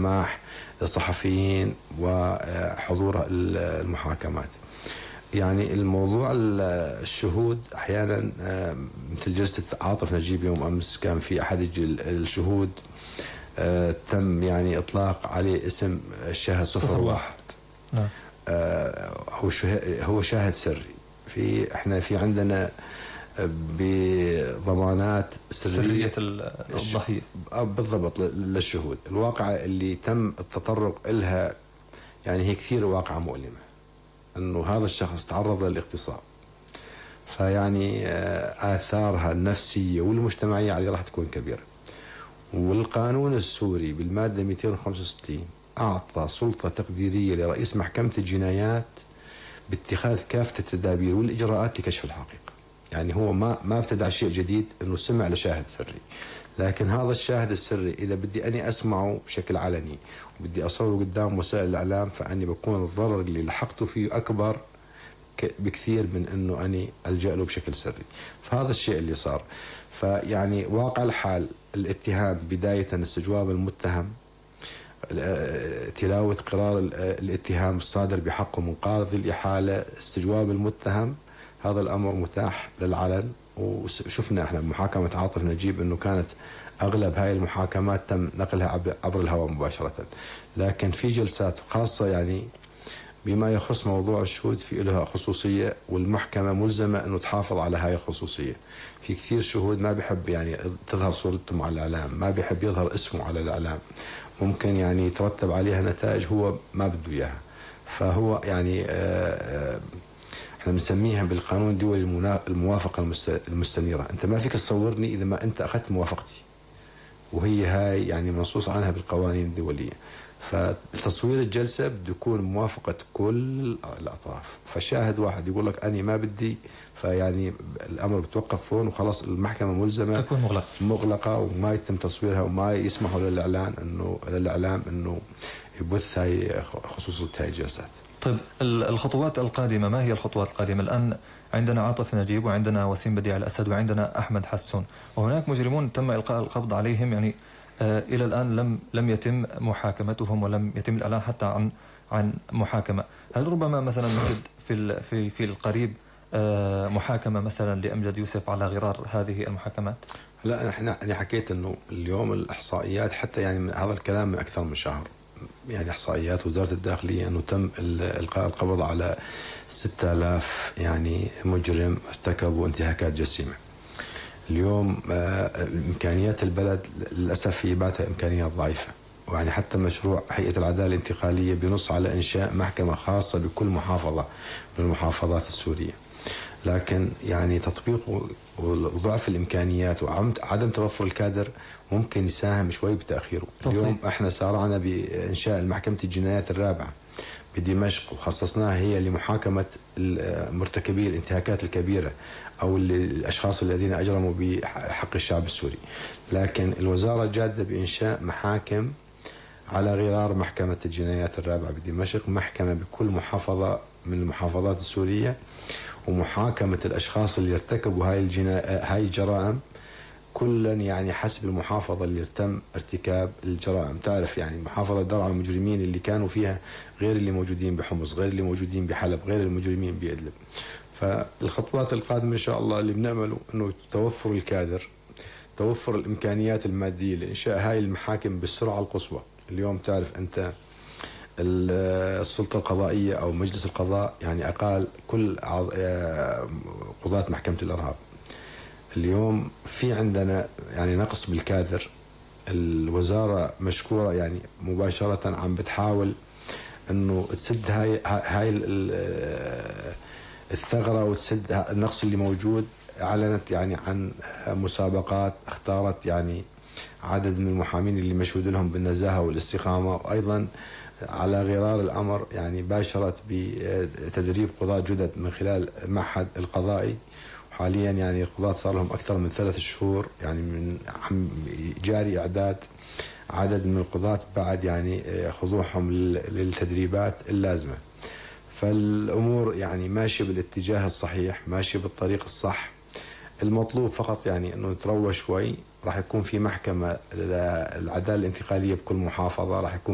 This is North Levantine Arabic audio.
السماح للصحفيين وحضور المحاكمات. يعني الموضوع الشهود أحيانا مثل جلسة عاطف نجيب يوم أمس كان في أحد الشهود تم يعني إطلاق عليه اسم الشاهد 01. نعم. هو شاهد سري. احنا في عندنا بضمانات سرية الضحية بالضبط للشهود. الواقعة اللي تم التطرق إلها يعني هي كثير واقعة مؤلمة، انه هذا الشخص تعرض للاغتصاب، فيعني آثارها النفسية والمجتمعية عليه راح تكون كبيرة. والقانون السوري بالمادة 265 أعطى سلطة تقديرية لرئيس محكمة الجنايات باتخاذ كافة التدابير والإجراءات لكشف الحقيقة. يعني هو ما ابتدع شيء جديد انه سمع لشاهد سري، لكن هذا الشاهد السري اذا بدي اني اسمعه بشكل علني وبدي اصوره قدام وسائل الاعلام، فاني بكون الضرر اللي لحقته فيه اكبر بكثير من انه اني الجا له بشكل سري. فهذا الشيء اللي صار. فيعني واقع الحال الاتهام بداية استجواب المتهم، تلاوة قرار الاتهام الصادر بحقه من قاضي الإحالة، استجواب المتهم، هذا الأمر متاح للعلن. وشفنا احنا بمحاكمة عاطف نجيب انه كانت اغلب هاي المحاكمات تم نقلها عبر الهواء مباشرة، لكن في جلسات خاصة يعني بما يخص موضوع الشهود في لها خصوصية، والمحكمة ملزمة انه تحافظ على هاي الخصوصية. في كثير شهود ما بيحب يعني تظهر صورتهم على الإعلام، ما بيحب يظهر اسمه على الإعلام، ممكن يعني يترتب عليها نتائج هو ما بده اياها. فهو يعني احنا بنسميها بالقانون الدولي الموافقة المستنيرة. انت ما فيك تصورني اذا ما انت اخذت موافقتي، وهي هاي يعني منصوص عنها بالقوانين الدولية. فتصوير الجلسة بده يكون موافقة كل الأطراف. فشاهد واحد يقول لك أنا ما بدي، فيعني الأمر بتوقف هون وخلاص، المحكمة ملزمة تكون مغلقة وما يتم تصويرها وما يسمحوا للإعلام إنه يبث هاي خصوصية هاي الجلسات. طيب الخطوات القادمة، ما هي الخطوات القادمة؟ الآن عندنا عاطف نجيب وعندنا وسيم بديع الأسد وعندنا أحمد حسون، وهناك مجرمون تم إلقاء القبض عليهم يعني إلى الآن لم يتم محاكمتهم ولم يتم الإعلان حتى عن محاكمة. هل ربما مثلا نجد في القريب محاكمة مثلا لأمجد يوسف على غرار هذه المحاكمات؟ لا، أنا حكيت إنه اليوم الإحصائيات حتى يعني هذا الكلام من أكثر من شهر، يعني إحصائيات وزارة الداخلية إنه تم إلقاء القبض على 6000 يعني مجرم ارتكبوا انتهاكات جسيمة. اليوم إمكانيات البلد للأسف هي باتها إمكانيات ضعيفة، ويعني حتى مشروع هيئة العدالة الانتقالية بنص على إنشاء محكمة خاصة بكل محافظة من المحافظات السورية، لكن يعني تطبيق وضعف الإمكانيات وعدم توفر الكادر ممكن يساهم شوي بتأخيره. اليوم احنا سارعنا بإنشاء المحكمة الجنايات الرابعة بدمشق، وخصصناها هي لمحاكمة مرتكبي الانتهاكات الكبيرة أو الأشخاص الذين أجرموا بحق الشعب السوري. لكن الوزارة جادة بإنشاء محاكم على غرار محكمة الجنايات الرابعة بدمشق، محكمة بكل محافظة من المحافظات السورية، ومحاكمة الأشخاص اللي ارتكبوا هاي الجرائم كلا يعني حسب المحافظة اللي تم ارتكاب الجرائم. تعرف يعني محافظة درعا المجرمين اللي كانوا فيها غير اللي موجودين بحمص، غير اللي موجودين بحلب، غير المجرمين بإدلب. فالخطوات القادمة إن شاء الله اللي بنعمله إنه توفر الكادر، توفر الإمكانيات المادية لإنشاء هاي المحاكم بالسرعة القصوى. اليوم تعرف أنت السلطة القضائية أو مجلس القضاء يعني أقال كل قضاة محكمة الإرهاب. اليوم في عندنا يعني نقص بالكادر. الوزارة مشكورة يعني مباشرة عم بتحاول انه تسد هاي الثغرة وتسد النقص اللي موجود. اعلنت يعني عن مسابقات اختارت يعني عدد من المحامين اللي مشهود لهم بالنزاهة والاستقامة، وايضا على غرار الامر يعني باشرت بتدريب قضاة جدد من خلال المعهد القضائي. حاليا يعني القضاة صار لهم أكثر من 3 شهور يعني من جاري إعداد عدد من القضاة بعد يعني خضوعهم للتدريبات اللازمة. فالأمور يعني ماشية بالاتجاه الصحيح، ماشية بالطريق الصح. المطلوب فقط يعني أنه نتروى شوي. راح يكون في محكمة للعدالة الانتقالية بكل محافظة، راح يكون